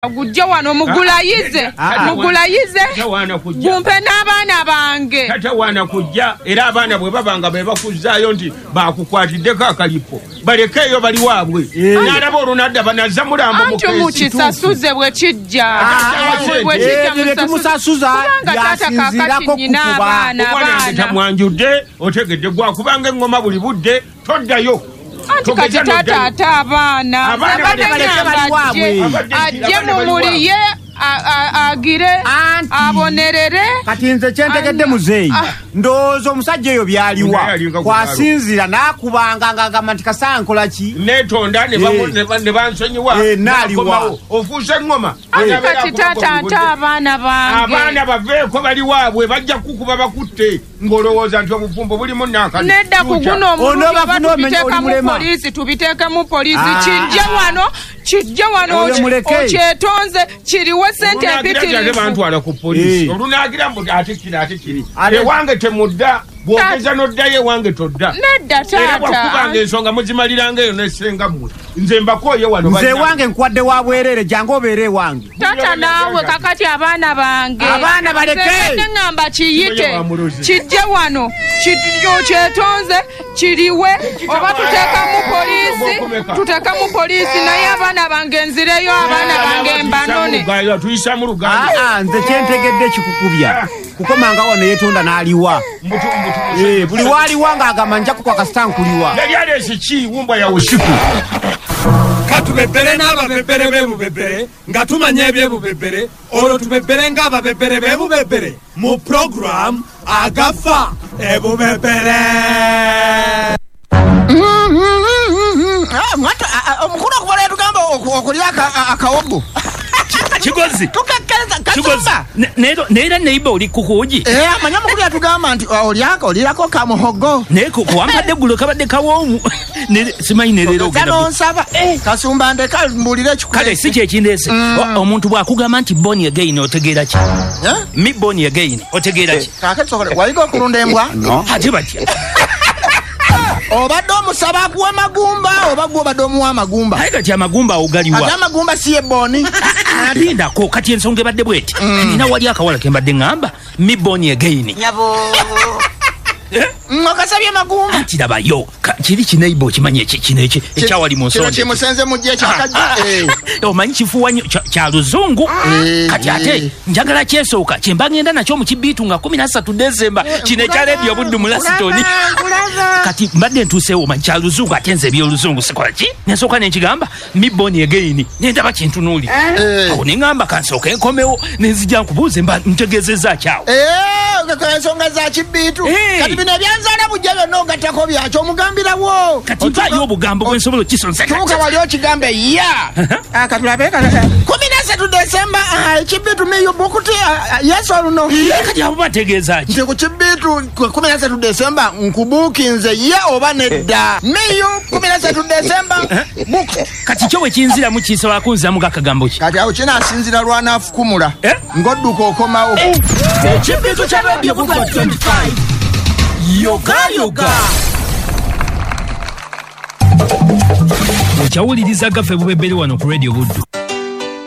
Gujje wano mugulayize, mugulayize, gumpe n'abaana bange. Tatawaana kujja, era abaana bwe baba nga be bakuzzaayo nti bakukwatiddeko akalipo, balekeeyo bali waabwe. N'alaba olunadda banazza mulambo mu Anti keesi. Mukisasuze bwe kijja. Bwe kijja Ebyo bye tumusasuza Kubanga taata kakati byasinziirako nnyina kukuba. abaana, Omwana wange abaana. tamwanjudde, otegedde gwakubanga eŋŋoma buli budde, toddayo. Anti kati Togeza taata n'oddayo. ate abaana. Abaana Abadde baleke ngamba bali waabwe. ajje Abaana bali mumuliye, agire, Anti. abonerere. Kati nze kyentegedde muzeeyi, ndowooza omusajja oyo byaliwa Naye alinga kwasinziira n'akubanga ng'agamba nti kasaa nkola ki? Neetonda ne bansonyiwa. Naaliwa. Nakomawo. Ofuuse eŋŋoma. Anti Anabeera kati akuba taata buli ate budde. abaana bange. Abaana baveeko bali waabwe, bajja kukuba bakutte ng'olowooza nti obufumbo bulimu nankani. Nedda, ku guno omulundi Onooba oba funa omenya oli tubiteekamu mulema. poliisi, tubiteekemu poliisi. Kijje wano, kijje wano, Oyo muleke. okyetonze, kiriwe sente Olunaagira nti ate empitirivu. bantwala ku poliisi. Olunaagira mbu ate kiri, ate kiri. Ewange temudda, bw'ogeza n'oddayo ewange todda. Nedda Era taata. bwakubanga ensonga muzimaliranga eyo nessenga mmwe. Nze mbakooye wano Nze bannange. ewange nkuwadde wa bwereere, jangu obeere ewange. Taata naawe kakati abaana bange. Abaana baleke. Nze mbadde ŋŋamba kiyite, Kimenye wa mulozi. kijje wano, okyetonze, kiriwe, oba tuteekamu poliisi, tuteekamu poliisi, naye abaana bange nzireyo, abaana bange mbanone. Tuyisa mu Luganda. Nze kyentegedde kikukubya kukomanga wano yeetonda n'aliwa. Mbutu, mbutu. Buli waaliwa ng'agamba nja kukwa kasita nkuliwa. Yali aleese ki wumbwa ya usiku. Katubebbere n'ababebbere b'ebubebbere nga tumanya ebyebubebbere, olwo tubebbere ng'ababebbere b'ebubebbere mu puroguramu Agafa Ebubebbere. Omukulu okuva lwe tugamba okulya akawogo. Kigozi. Tukakkiriza, Kigozi. Kasumba. Neera neiba oli kukuugi. Amanyi omukulu yatugamba nti olyako, olirako kamuhogo. Naye kuwampadde eggulo kabadde kawoomu. Simanyi ne leero Ogeza ogenda n'onsaba. Kasumba, ndeka mbuulire ekikuleese. Kale si kyekindeese. Omuntu bw'akugamba nti born again otegeera ki? Eh? Me born again otegeera ki? Kaakati sokole, wayiga okulunda embwa? Ate batya? Obadde omusaba akuwa magumba oba gwe obadde omuwa amagumba? Naye kati amagumba awo galiwa? Ate amagumba si yebbooni? Lindako, kati ensonga ebadde bweti. Nina wali akawala ke mbadde ŋŋamba me born again. Okasabye magumba? Anti labayo, kiri kineiba okimanyi kino ekyawali mu Kino nsonda. kimusenze mujje ekyakajja. Omanyi kifuuwa nnyo kya luzungu. Kati ate njagala kyesooka kyemba ngenda nakyo mu kibiitu nga 13 Desemba, kino ekya Rediyo Buddu mu Lasitoni. Kati mbadde ntuuseewo, omanyi kya luzungu, ate nze ebyoluzungu sikola ki, nensooka nenkigamba me born again, nendaba kintunuulira. Awo neŋŋamba kansooke nkomewo nenzija nkubuuze mba ntegeezezza kyawo. Ensonga za kibiitu. Kati bino ebyanzaala bujja byonna ogattako byakyo omugambirawo. Kati mpaayo obugambo bwe nsobola okisonsa. Tuuka wali okigambe ya. Katulabe 13 Desemba, ekibiitu miyu bukuti yesu oluno. Kati abo bategeeza ki? Nti ku kibiitu 13 Desemba nkubuukinze ye oba nedda miyu 13 Desemba bukuti. Kati kyo bwe kinziramu kisobola kunziramu gakagambo ki? Kati awo kinaasinzira lwanaafukumula ng'odduka okomawo. Ekibiitu kya Radio Buddu 25 yoga yoga. Okyawuliriza Gaffe Bubebbere wano ku Radio Buddu.